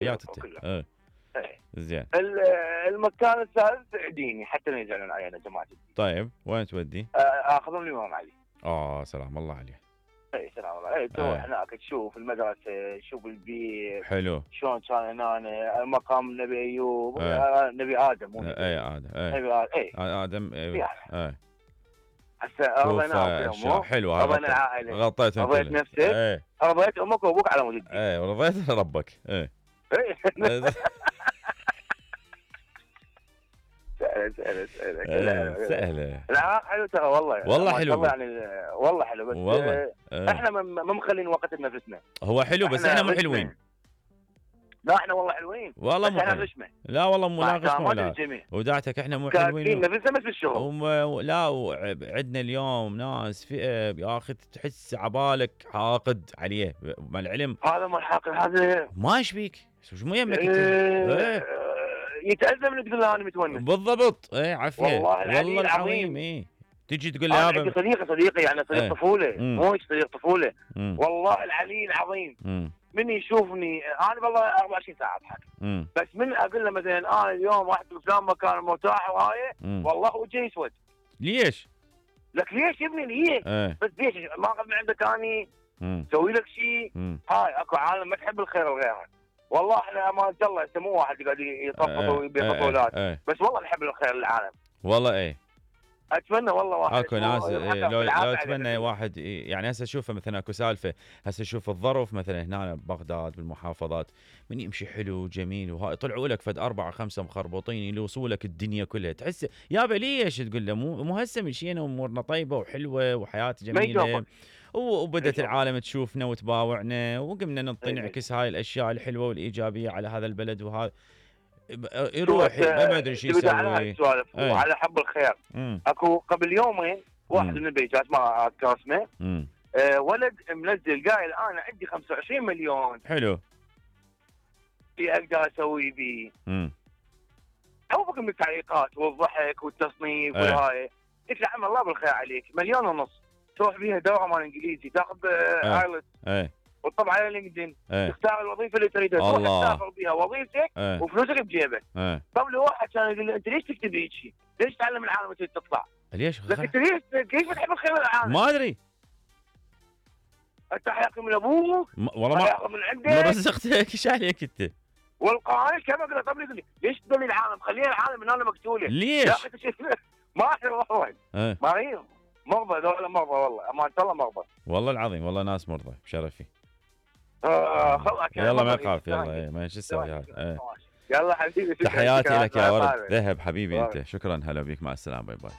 حياته. ايه. زين. المكان الثالث ديني حتى لا يزعلون علي انا جماعتي. طيب وين تودي؟ اخذهم الامام علي. سلام الله عليه. اي سلام الله عليه. تروح هناك تشوف المدرسه، تشوف البيت حلو شلون كان هنا، مقام النبي ايوب. نبي ادم مو اي ادم. نبي ادم. اي هسه رضينا حلو. رضينا العائله، غطيت رضيت نفسك، رضيت امك وابوك على مود الدين. ورضيت ربك. سهله. لا حلو ترى والله حلو يعني والله حلو، بس والله. احنا ما مخلين وقت لنفسنا. هو حلو بس احنا مو حلوين. لا احنا والله حلوين والله مو حلوين. لا والله مو ناقص ولا وداعتك احنا مو حلوين. نفسنا بس بالشغل. لا عندنا اليوم ناس فئه يا اخي تحس عبالك حاقد عليه مع العلم. هذا مو الحاقد، هذا ما ايش بيك؟ شو مو يمك انت؟ يتأذى من تقول له انا متونس. بالضبط. عافيه والله العظيم. تجي تقول لي يابا صديقي يعني صديق طفوله، مو صديق طفوله. والله العلي العظيم من يشوفني انا والله 24 ساعه اضحك، بس من اقول له مثلا انا اليوم رحت بفلان مكان مرتاح وهاي والله وجهي يسود. ليش؟ لك ليش يا ابني ليش؟ بس ليش ما اخذ من عندك اني اسوي لك شيء؟ هاي اكو عالم ما تحب الخير لغيرها. والله احنا امانه الله انت مو واحد قاعد يطفط ويبيع بطولات، بس والله نحب الخير للعالم. والله اتمنى والله واحد اكو ناس لو اتمنى واحد يعني هسه اشوفه مثلا اكو سالفه هسه اشوف الظرف مثلا هنا ببغداد بالمحافظات من يمشي حلو جميل وهاي طلعوا لك فد 4 5 مخربطين يلوصوا لك الدنيا كلها تحس يابا ليش تقول له مو هسه مشينا وامورنا طيبه وحلوه وحياه جميله وبدت العالم تشوفنا وتباوعنا وقمنا نعطي نعكس هاي الاشياء الحلوه والايجابيه على هذا البلد وهذا يروح ما ادري شو يسوي. وعلى حب الخير اكو قبل يومين واحد من البيجات ما اذكر اسمه ولد منزل قايل انا عندي 25 مليون حلو في اقدر اسوي بيه. عوفك من التعليقات والضحك والتصنيف والهاي. قلت له عم الله بالخير عليك 1.5 مليون تروح بيها دوره مال انجليزي تاخذ ايلتس وتطبع على لينكدين تختار الوظيفه اللي تريدها تروح تسافر بها وظيفتك وفلوسك بجيبك. طب لو واحد كان يقول لي انت ليش تكتب هيك شيء؟ ليش تعلم العالم تريد تطلع؟ ليش؟ انت ليش بتحب الخير للعالم؟ ما ادري انت حياكم من ابوك والله ما من عندك ما رزقتك ايش عليك انت؟ والقائل كما قلت طب يقول لي ليش تدلي العالم؟ خلينا العالم من انا مقتوله. ليش؟ يا اخي ما احنا واحد مريض مرضى ذولا مرضى والله امانه الله مرضى والله العظيم والله ناس مرضى بشرفي. يلا ما يخاف يلا ما شو تسوي هذا. يلا حبيبي تحياتي لك يا ورد ذهب حبيبي انت شكرا هلا بيك مع السلامه باي باي.